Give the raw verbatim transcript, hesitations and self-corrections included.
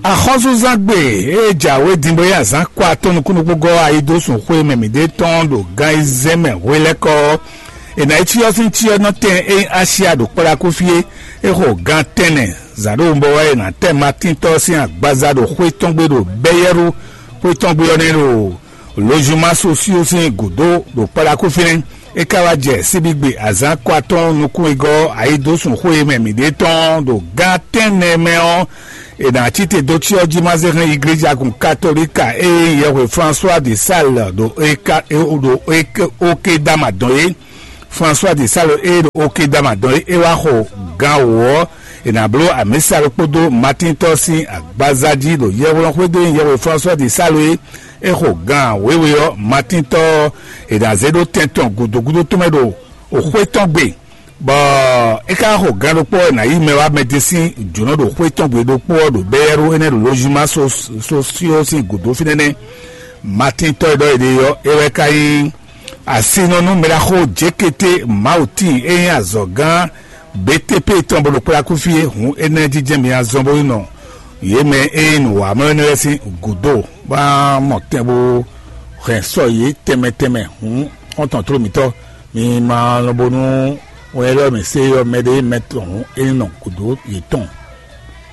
Axɔ́súzángbe e jǎwe din bó yí azǎn kɔ atɔ́ nukúnnú gɔ́ ayidósun xwé mɛ mǐɖée tɔn ɖo gan ayizɛ́n mɛ hwelɛ́kɔ ɔ́, è nǎ yi cyɔ sín cyɔ nɔ tɛn e nyí Asia ɖo kpɔ́ɖákúfí é. É xo gan tɛnnɛ zǎn ɖo wunbɔ wɛ è nǎ tɛ Matíntɔ́ sín agbaza ɖo xwé tɔn gbe ɖo Bɛ́yɛ́ru. Xwé tɔn gbe ɔ́ nɛ́ ɖo lozuma sosío sín gǔdo ɖo kpɔ́ɖákúfí nɛ́. É ka wá jɛ síbígbe azǎn kɔ atɔ́ nukún e gɔ́ ayidósun xwé e mɛ mǐɖée tɔn ɖo gan tɛ́nnɛ mɛ ɔ́, è nǎ cí te dó cyɔ jí ma zé hɛn iglejagun katolíka e nyí yɛhwe François de Sales ɖo eka ɖo okedama dɔn é. François de Sales e ɖo okedama dɔn é, é wá xo gan wǒ ɔ́, è nǎ bló amǐsa ɖokpó dó Matíntɔ́ sín agbaza jí ɖo yɛhweɖɔxwé dó nyí yɛhwe François de Sales é. É xo gan wěwe ɔ́, Matíntɔ́ ɔ́, è nǎ zé ɖó tɛn tɔn gǔdo gúdo tɔn mɛ ɖo xwé tɔn gbe, bɔ é ka xo gan ɖokpó ɔ́, è nǎ yí mɛ wá mɛ ɖé sín jǒnɔ ɖo xwé tɔn gbe ɖokpó ɔ́ ɖo Bɛ́yɛ́ɖó énɛ́ ɖo lozuma sosío sín gǔdo fínɛ́ nɛ́. Matíntɔ́ e ɖɔ è ɖe ɔ́, é wɛ ka nyí asinɔnú mɛɖaxó Jekete Mawutín e nyí azɔ̌gán B T P tɔn bó ɖo kplákúfí é. Hǔn énɛ́ jínjɛ́n mi azɔn bó yi nɔ yě mɛ e nyí nǔwamlɔ́ énɛ́ lɛ́ɛ sín gǔdo, bó ná mɔ tɛn bó hɛn sɔ yě tɛnmɛ tɛnmɛ. Hǔn xɔ́ntɔn tló mǐtɔn, mi ma lɔn bónú wɛn élɔ́ mǐ se ɔ́ mɛ ɖé mɛ tɔn hǔn é ní nɔ gǔdo yětɔn.